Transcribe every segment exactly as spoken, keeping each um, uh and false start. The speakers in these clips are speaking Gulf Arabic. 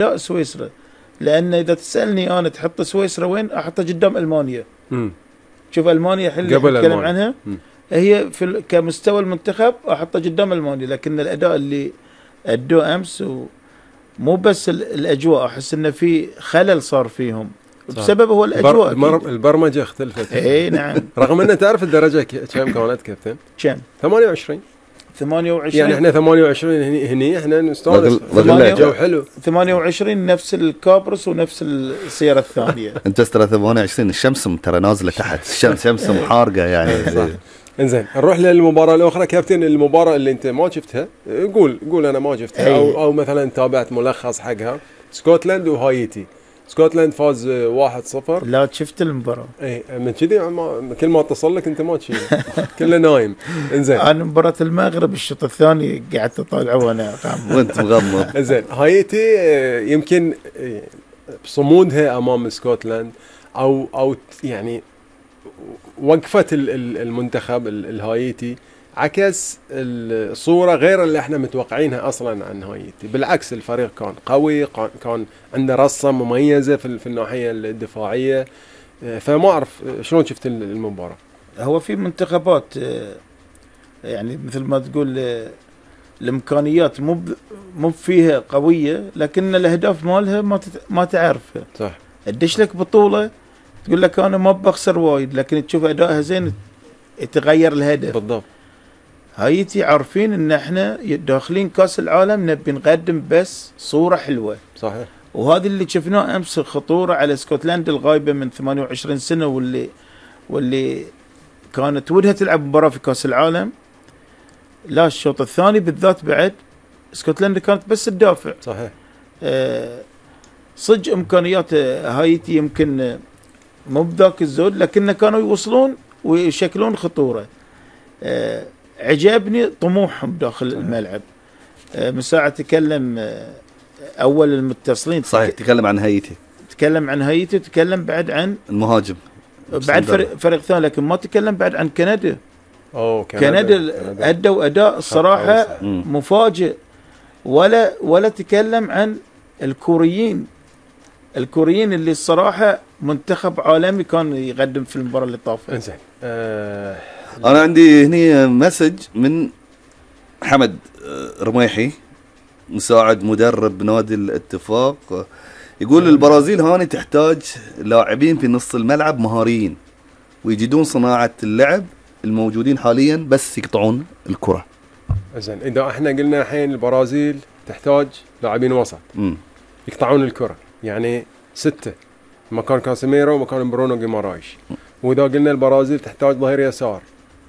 لا سويسرا، لأن إذا تسألني أنا تحط سويسرا وين؟ أحطها قدام ألمانيا. مم. شوف ألمانيا الحين اللي نتكلم عنها مم. هي في كمستوى المنتخب أحطها قدام ألمانيا، لكن الأداء اللي أدوه أمس مو بس الأجواء، أحس إنه في خلل صار فيهم بسبب هو الأجواء. البر... البرمجة اختلفت. إيه نعم. رغم أن تعرف الدرجة كم كانت كابتن؟ كم؟ ثمانية وعشرين. ثمانية وعشرين يعني احنا ثمانية وعشرين هني هني احنا نستانس. جو حلو. ثمانية وعشرين نفس الكابرس ونفس السيارة الثانية. انت ترى ثمانية وعشرين الشمس ترى نازلة تحت، الشمس شمس محارقة يعني. صح. انزين نروح للمباراة الأخرى كابتن. المباراة اللي انت ما شفتها قول قول انا ما شفتها او او مثلا تابعت ملخص حقها. سكوتلاند وهايتي. سكوتلاند فاز واحد صفر. لا شفت المباراة. اي من كذي كل ما اتصل لك انت ما تشيل كله نايم. انزين انا مباراة المغرب الشوط الثاني قعدت اطالعه وانا وانت مغمض. انزين هايتي يمكن بصمودها امام سكوتلاند او او يعني وقفة المنتخب الهايتي عكس الصورة غير اللي احنا متوقعينها اصلا عن هايتي. بالعكس الفريق كان قوي، كان عنده رصة مميزة في في الناحية الدفاعية. فما اعرف شلون شفت المباراة. هو في منتخبات يعني مثل ما تقول الامكانيات مو مو فيها قوية، لكن الاهداف مالها ما ما تعرفها. صح. تدش لك بطولة تقول لك انا ما بخسر وايد، لكن تشوف ادائها زين يتغير الهدف. بالضبط. هايتي عارفين ان احنا داخلين كاس العالم نبي نقدم بس صورة حلوة. صحيح. وهذا اللي شفناه امس، الخطورة على اسكتلندا الغايبة من ثمانية وعشرين سنة، واللي واللي كانت ودها تلعب مباراة في كاس العالم. لا الشوط الثاني بالذات بعد اسكتلندا كانت بس تدافع. صحيح. آه صدق امكانيات هايتي يمكن مو بذاك الزود، لكن كانوا يوصلون ويشكلون خطورة. آه عجبني طموحهم داخل الملعب. آه من ساعة تكلم آه أول المتصلين. صحيح. تكلم عن هايتي. تكلم عن هايتي، تكلم بعد عن المهاجم. بعد فريق, فريق ثاني، لكن ما تكلم بعد عن كندا. أوه كندا. كندا أدوا أداء الصراحة مفاجئ. ولا ولا تكلم عن الكوريين. الكوريين اللي الصراحة منتخب عالمي كان يقدم في المباراة اللي طافت. انزين. أه أنا عندي هني مسج من حمد رميحي مساعد مدرب نادي الاتفاق، يقول البرازيل هاني تحتاج لاعبين في نص الملعب مهاريين ويجدون صناعة اللعب الموجودين حاليا بس يقطعون الكرة. زين إذا احنا قلنا الحين البرازيل تحتاج لاعبين وسط م. يقطعون الكرة، يعني ستة مكان كاسيميرو ومكان برونو جيمارايش. وإذا قلنا البرازيل تحتاج ظهير يسار،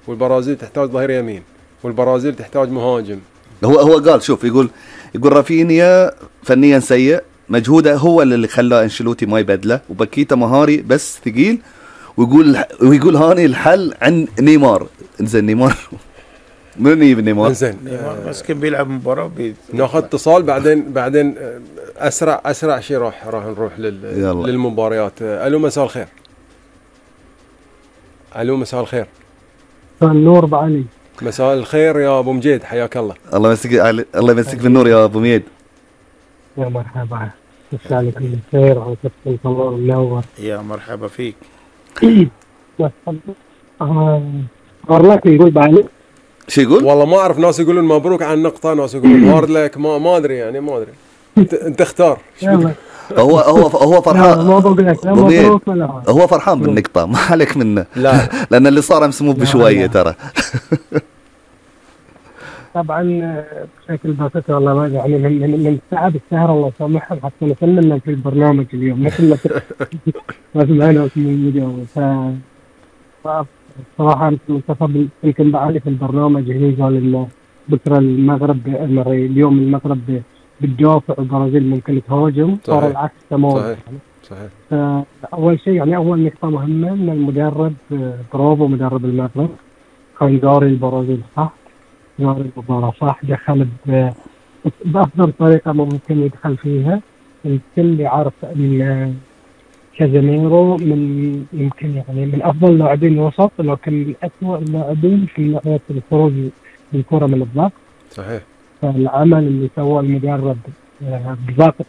والبرازيل تحتاج ظهير يمين، والبرازيل تحتاج مهاجم. هو هو قال شوف، يقول يقول رافينيا فنيا سيء، مجهوده هو اللي خلاه انشيلوتي ما يبدله، وباكيتا مهاري بس ثقيل، ويقول ويقول هاني الحل عن نيمار. انزين نيمار من يجيب نيمار؟ انزين نيمار بس كان بيلعب مباراة بي... ناخذ اتصال بعدين بعدين اسرع اسرع شيء راح راح نروح لل... للمباريات. الو مساء الخير. الو مساء الخير. مساء النور ابو علي. مساء الخير يا ابو مجيد، حياك الله. الله يمسك الله يمسك بالنور يا ابو مجيد. يا مرحبا، مساء عليكم الخير وعساكم الله منور. يا مرحبا فيك. هارلك يقول بعلي شو يقول؟ والله ما اعرف، ناس يقولون مبروك على النقطة، ناس يقولون هارد لك، ما ما ادري يعني ما ادري. انت انت اختار. هو هو هو فرحان. ما بقول لك لا مبروك ولا هو فرحان بالنقطة، ما عليك منه. لا لأن اللي صار امس مو بشوية ترى. طبعا بشكل بسيط والله ما يعني من من من تعب السهر الله يسامحهم حتى نسلمنا في البرنامج اليوم مثل ما ما سمعنا في الفيديو. ف صراحة منتخب يمكن بعلي في البرنامج هني قال إنه بكرة المغرب اليوم المغرب بتدافع والبرازيل ممكن تهاجم، صار العكس تماما. صحيح صحيح. فأول شيء يعني أول نقطة مهمة إن المدرب برافو مدرب المغرب كان قاري البرازيل صح، قاري المباراة صح، دخل بأفضل طريقة ممكن يدخل فيها. الكل يعرف إن كازيميرو من يمكن يعني من أفضل لاعبين الوسط، لكن من أسوأ اللاعبين في ناحية الخروج بالكرة من الضغط. صحيح. فالعمل اللي سواه المدرب آه، بباقة